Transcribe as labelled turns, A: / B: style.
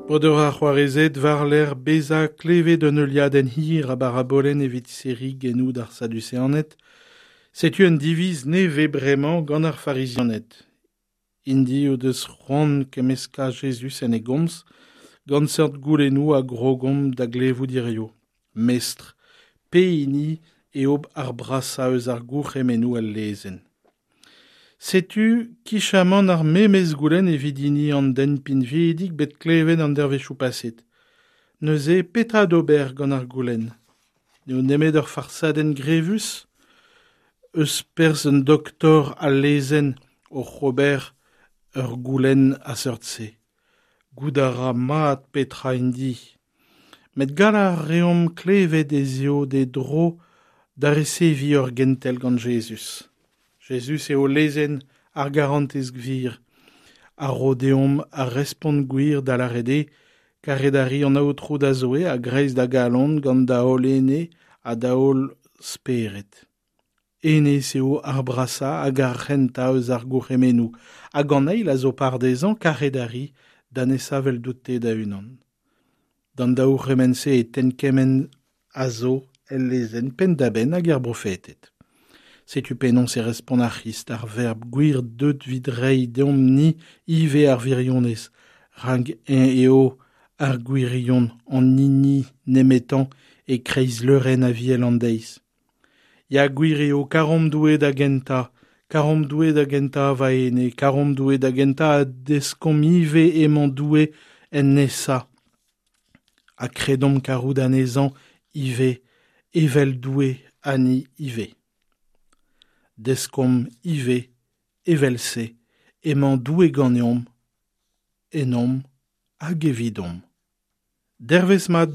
A: Breudeur ha c'hoarezed, war-lerc'h bezañ klevet un heuliadenn hir a barabolenn evit serriñ genoù d'ar Saduseaned, setu un diviz nevez bremañ gant ar Farizianed. Int-i o deus c'hoant kemmeskañ Jezuz en e gomz gant seurt goulennoù a grogomp da glevout hiziv. Mestr, pehini eo ar brasañ eus ar gourc'hemennoù el lezenn? Setu kichamant ar memes goulenn evit hini an den pinvidik bet klevet an dervezhioù paset. Neuze, petra d'ober gant ar goulenn? N'eo nemet ur farsadenn grevus eus perzh un doktor al lezenn oc'h ober ur goulenn a seurt-se. Goût a ra mat petra int-i. Met gall a reomp klevet ez eo d'e dro da reseviñ ur gentel gant Jezuz. Jezuz eo lezenn ar garantez gwir a ro deomp ar respont gwir da lâret eo karet a ri an Aotrou da Zoue a-greiz da galon gant da holl ene ha da holl spered. Hennezh eo ar brasañ hag ar c'hentañ eus ar gourc'hemennoù, hag an eil a zo par dezhañ karet a ri da nesañ eveldout-te da-unan. D'an daou c'hement-se e tenn kement a zo el lezenn penn-da-benn hag er brofeted. Setu penaos e respont ar C'hrist, ar verb gwir deut 'vit reiñ deomp-ni ivez ar wirionez, rak eñ eo ar gwirion, an hini nemetañ e-kreiz leurenn Aviel an deiz. Ya gwir eo, karomp Doue da gentañ, karomp Doue da gentañ va ene, karomp Doue da gentañ ha deskomp ivez emañ Doue en nesañ. Ha kredomp karout anezhañ ivez evel Doue ha ni ivez. Deskomp ivez evel-se emañ Doue ganeomp, ennomp hag evidomp. Dervezh mat deoc'h.